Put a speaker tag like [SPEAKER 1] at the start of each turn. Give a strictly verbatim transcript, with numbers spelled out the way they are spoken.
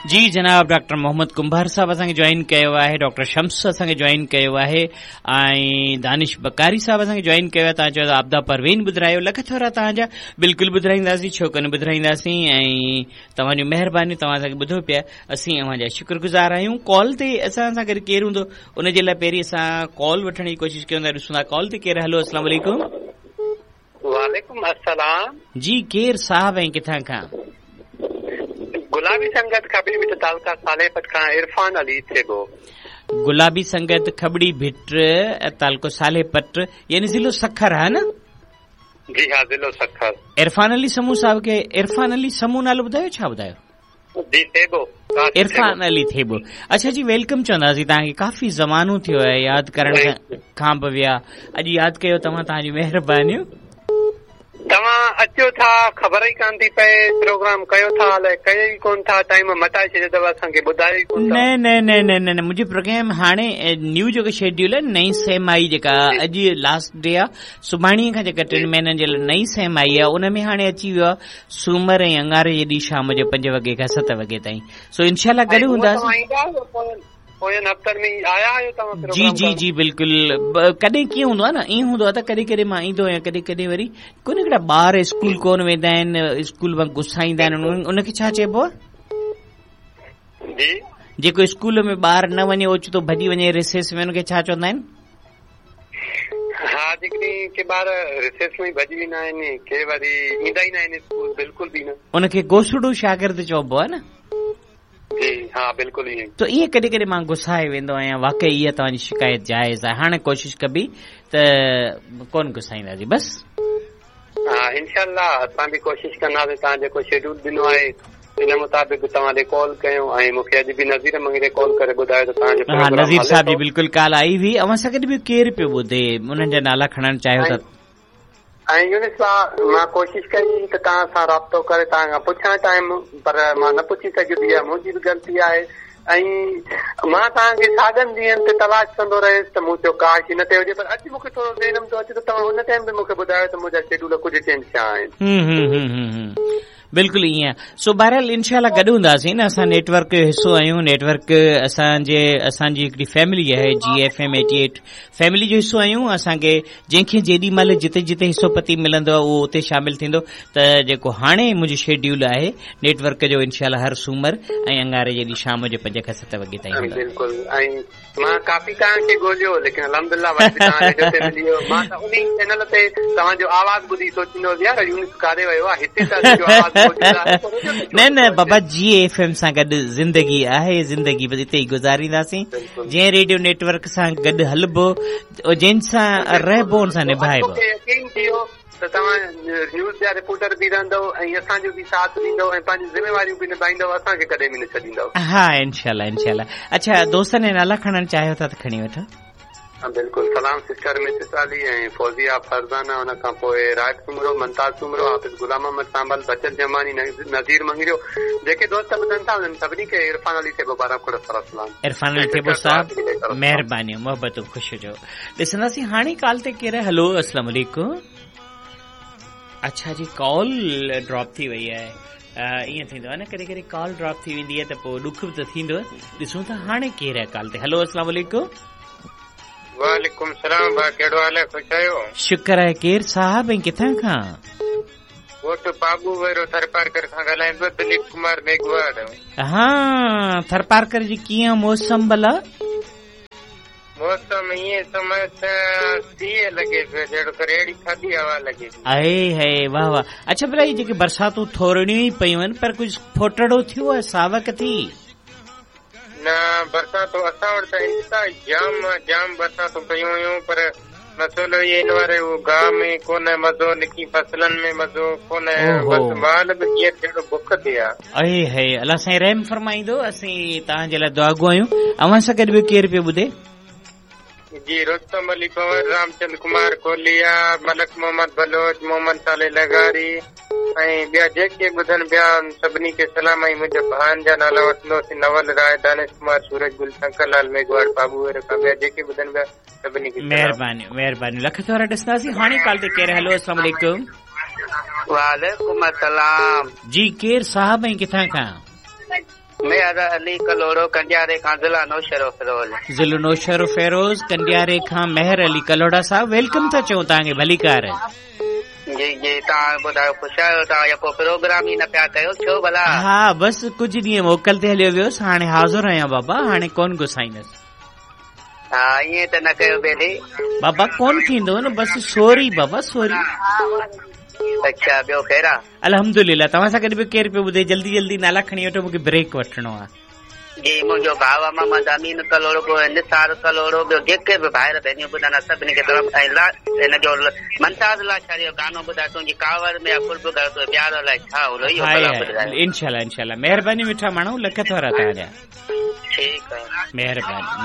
[SPEAKER 1] जी जनाब डॉक्टर मोहम्मद कुंभार साहब असांखे जॉइन कयो आहे, डॉक्टर शम्स असांखे जॉइन कयो आहे ऐं दानिश बकारी साहब असांखे जॉइन कयो आहे। तव्हां चयो था आबदा परवीन ॿुधायो, लख थोरा तव्हांजा, बिल्कुलु ॿुधाईंदासीं, छो कोन ॿुधाईंदासीं। ऐं तव्हांजूं महिरबानियूं, तव्हां असांखे ॿुधो पिया, असीं अव्हांजा शुक्रगुज़ार आहियूं। कॉल ते असां सां गॾु केरु हूंदो उन जे लाइ पहिरीं असां कॉल वठण जी कोशिशि कयूं था, ॾिसूं था कॉल ते केरु। हलो, अस्सलाम वालेकुम।
[SPEAKER 2] वालेकुम अस्सलाम।
[SPEAKER 1] जी केरु साहब ऐं किथां खां?
[SPEAKER 2] गुलाबी संगत खबड़ी भिट तालुका सालेपट खां इरफान अली थेबो।
[SPEAKER 1] गुलाबी संगत खबड़ी भिट तालुको सालेपट यानी ज़िलो सखर है ना?
[SPEAKER 2] जी हा, ज़िलो सखर।
[SPEAKER 1] इरफान अली समू साहब के, इरफान अली समू नालो ॿुधायो, छा ॿुधायो?
[SPEAKER 2] जी थेबो,
[SPEAKER 1] इरफान अली थेबो। अच्छा जी, welcome चवंदासीं तव्हांखे, काफ़ी ज़मानो थियो आहे यादि करण खां बि विया, अॼु यादि कयो तव्हां, तव्हांजी महिरबानियूं।
[SPEAKER 2] तव्हां अचो था, ख़बर ई कान थी पए, प्रोग्राम कयो था अलाए कयो ई कोन था, टाइम मटाए छॾियो अथव, असांखे ॿुधायो ई कोन था।
[SPEAKER 1] न न न न न न, मुंहिंजो प्रोग्राम हाणे न्यू जेको शेड्यूल आहे, नई सेम आई जेका अॼु लास्ट डे आहे, सुभाणे खां जेका टिनि महीननि जे लाइ नई सेम आई आहे, उन में हाणे अची वियो आहे सूमर ऐं अंगारे जे ॾींहुं शाम जो पंज वॻे खां सत वॻे ताईं। सो इनशाअल्लाह गॾु हूंदासीं।
[SPEAKER 2] पोयनि हफ़्तनि में आया आहियो तव्हां?
[SPEAKER 1] जी जी जी बिल्कुलु। कॾहिं कीअं हूंदो आहे न, ईअं हूंदो आहे त कॾहिं कॾहिं मां ईंदो आहियां, कॾहिं कॾहिं वरी कोन हिकिड़ा ॿार स्कूल कोन वेंदा आहिनि, स्कूल मां गुस्साईंदा आहिनि, उनखे छा चइबो आहे?
[SPEAKER 2] जी
[SPEAKER 1] जेको स्कूल में ॿार न वञे, ओचितो भॼी वञे रिसेस में, उनखे छा चवंदा आहिनि?
[SPEAKER 2] हा, जेकॾहिं के ॿार रिसेस में भॼी वेंदा आहिनि, के वरी ईंदा ई न आहिनि स्कूल, बिल्कुलु बि न,
[SPEAKER 1] उनखे गोसड़ू शागिर्द चइबो आहे न?
[SPEAKER 2] जी हा, बिल्कुलु ईअं।
[SPEAKER 1] त ईअं कॾहिं कॾहिं मां गुस्साए वेंदो आहियां, वाकई इहा तव्हांजी शिकायत जाइज़ आहे। हाणे कोशिशि कबी त कोन गुस्साईंदासीं बसि।
[SPEAKER 2] हा इनशाअल्लाह असां बि कोशिशि कंदासीं, तव्हां जेको शेड्यूल ॾिनो आहे इन मुताबिक़ तव्हां ॾे कॉल कयूं। ऐं मूंखे अॼु बि नज़ीर मंगरे कॉल करे ॿुधायो त तव्हांजो
[SPEAKER 1] हा, नज़ीर साहब जी बिल्कुलु कॉल आई हुई। अव्हां सां गॾु ॿियो केरु पियो ॿुधे, उन्हनि जा नाला खणणु चाहियो था?
[SPEAKER 2] ऐं यूनिस साहब, मां कोशिशि कई त तव्हां सां राब्तो करे तव्हां खां पुछां टाइम, पर मां न पुछी सघियुसि, इहा मुंहिंजी बि ग़लती आहे। ऐं मां तव्हांखे साॻनि ॾींहंनि ते तलाश कंदो रहियुसि त मूं चयो काश हिन ते हुजे, पर अॼु मूंखे थोरो ज़हन में थो अचे त तव्हां हुन टाइम ते मूंखे ॿुधायो त मुंहिंजा शेड्यूल कुझु चेंज थिया आहिनि।
[SPEAKER 1] बिल्कुलु ईअं। सो बहरहाल इनशाअल्लाह गॾु हूंदासीं न, असां नेटवर्क जो हिसो आहियूं, नेटवर्क असांजे असांजी हिकिड़ी फैमिली आहे, G F M eighty eight family जो हिसो आहियूं। असांखे जंहिंखे जेॾी महिल जिते जिते हिसो पती मिलंदो आहे उहो उते शामिल थींदो। त जेको हाणे मुंहिंजो शेड्यूल आहे नेटवर्क जो, इनशाअल्लाह हर सूमर ऐं अंगारे जे ॾींहुं शाम जो पंज खां सत वॻे ताईं हूंदो।
[SPEAKER 2] बिल्कुलु। ऐं मां काफ़ी तव्हांखे ॻोल्हियो, लेकिन अल्हम्दुलिल्लाह वरी बि तव्हां रेडियो ते मिली वियो। मां त उन ई चैनल ते तव्हांजो आवाज़ ॿुधी सोचींदो हुउसि, यार यूनिस काॾे वियो आहे, हिते त असांजो आवाज़
[SPEAKER 1] न न बाबा, जी एफ एम सां गॾु ज़िंदगी आहे, ज़िंदगी बसि इते ई गुज़ारींदासीं। जंहिं रेडियो नेटवर्क सां गॾु हलबो, जंहिं सां रहबो, उन सां निभाइबो।
[SPEAKER 2] यकीन थियो त तव्हां न्यूज़ जा रिपोर्टर बि रहंदव ऐं असांजो बि साथ ॾींदव ऐं पंहिंजी ज़िम्मेवारियूं बि निभाईंदव, असांखे कॾहिं बि न छॾींदव।
[SPEAKER 1] हा इनशाअल्लाह इनशाअल्लाह। अच्छा, दोस्तनि जा नाला खणणु चाहियो था त खणी वठो।
[SPEAKER 2] बिल्कुलु। सलाम सिस्टर मिसिस अली ऐं फौजिया फरज़ाना, उन खां पोइ राज सुमरो, मुमताज़ सुमरो, हाफ़िज़ गुलाम अहमद सांबल, बचत जमानी, नज़ीर मंगरियो, जेके दोस्त ॿुधनि था उन्हनि सभिनी खे इरफान अली थेबो पारां खुड़ सारा सलाम।
[SPEAKER 1] इरफान अली थेबो साहब, महिरबानी, मोहबतूं, ख़ुशि हुजो। ॾिसंदासीं हाणे कॉल ते केरु। हलो, अस्सलाम वालेकुम। अच्छा जी, कॉल ड्रॉप थी वई आहे। ईअं थींदो आहे न, कॾहिं कॾहिं कॉल ड्रॉप थी वेंदी आहे त पोइ ॾुख बि त थींदो आहे। ॾिसूं था हाणे केरु आहे कॉल ते। हलो, अस्सलाम वालेकुम।
[SPEAKER 2] वालेकुम सलाम। भाउ, कहिड़ो हाल आहे? ख़ुशि आहियो?
[SPEAKER 1] शुक्र आहे। केरु साहब ऐं किथां खां?
[SPEAKER 2] ॻोठ पाबू वेरो थरपारकर खां ॻाल्हायां पियो, दिलीप कुमार मेघवाड़।
[SPEAKER 1] हा, थरपारकर जी कीअं मौसम भला?
[SPEAKER 2] मौसम ईअं सम्झ त सीअ लॻे पियो, जहिड़ो करे अहिड़ी थधी हवा लॻे पई।
[SPEAKER 1] आहे आहे, वाह वाह। अच्छा भला, इहे जेके बरसातूं थोरिड़ियूं ई पयूं आहिनि, पर कुझु फोटड़ो थियो आहे, सावक थी?
[SPEAKER 2] न, बरसातूं असां वटि त इंतिहा जाम जाम बरसातूं पयूं हुयूं, पर मसइलो इहो हिन वारे उहो गांव में कोन मज़ो, निकी फसलनि में मज़ो कोन, बसि माल बि ईअं जहिड़ो बुख ते आहे।
[SPEAKER 1] आहे आहे, अलाह साईं रहम फरमाईंदो। असीं तव्हांजे लाइ दुआ गो आहियूं। अव्हां सां गॾु ॿियो केरु पियो ॿुधे?
[SPEAKER 2] जी, रुस्तम अली पंवर, रामचंद कुमार कोलिया, मलक मोहम्मद बलोच, मोहम्मद साले लगारी ऐं ॿिया जेके ॿुधनि पिया सभिनी खे सलाम। ऐं मुंहिंजे भाउनि जा नाला वठंदोसीं, नवल राय, दानिश कुमार, सूरज गुल, शंकर लाल मेघवाड़, बाबू खां ॿिया जेके ॿुधनि पिया सभिनी खे
[SPEAKER 1] महिरबानी महिरबानी। लख थोरा ॾिसंदासीं हाणे कॉल ते केरु। हलो, अस्सलाम वालेकुम।
[SPEAKER 2] वालेकुम अस्सलाम।
[SPEAKER 1] जी, केरु साहब ऐं किथां खां?
[SPEAKER 3] مهر علي ڪلهوڙو कंडियारे खां ज़िला नौशहरो फिरोज।
[SPEAKER 1] ज़िलो नौशहरो फिरोज कंडियारे खां मेहर अली कल्होड़ा साहब welcome था चऊं तव्हांखे भलीकार।
[SPEAKER 3] जी जी तव्हां ॿुधायो ख़ुशि आहियो तव्हां यको प्रोग्राम ई न पिया कयो छो भला?
[SPEAKER 1] हा बसि कुझु ॾींहं मोकल ते हलियो वियोसि, हाणे हाज़िर आहियां बाबा, हाणे कोन गुसाईंदसि।
[SPEAKER 3] हा ईअं त न कयो ॿेली
[SPEAKER 1] बाबा, कोन थींदो न, बसि सॉरी बाबा सॉरी।
[SPEAKER 3] अच्छा ॿियो ख़ैर आहे?
[SPEAKER 1] अल्हम्दुलिल्लाह। तव्हां सां गॾु ॿियो केरु पियो ॿुधे? जल्दी जल्दी नाला खणी वठो, मूंखे ब्रेक वठिणो आहे।
[SPEAKER 3] जी मुंहिंजो भाउ आहे मोहम्मद अमीन कल्होड़ो, पोइ निसार कल्होड़ो, ॿियो जेके बि भाइर भेणियूं ॿुधंदा सभिनी खे तरफ़। ऐं हिन जो मुमताज़ लाशारी जो गानो ॿुधाए, तुंहिंजी कावड़ में कुर्ब कर तो प्यार अलाए छा हुलो, इहो ॿुधाए।
[SPEAKER 1] इंशाल्लाह इंशाल्लाह। महिरबानी मिठा माण्हू, लख थोरा तव्हांजा।
[SPEAKER 3] ठीकु आहे,
[SPEAKER 1] महिरबानी।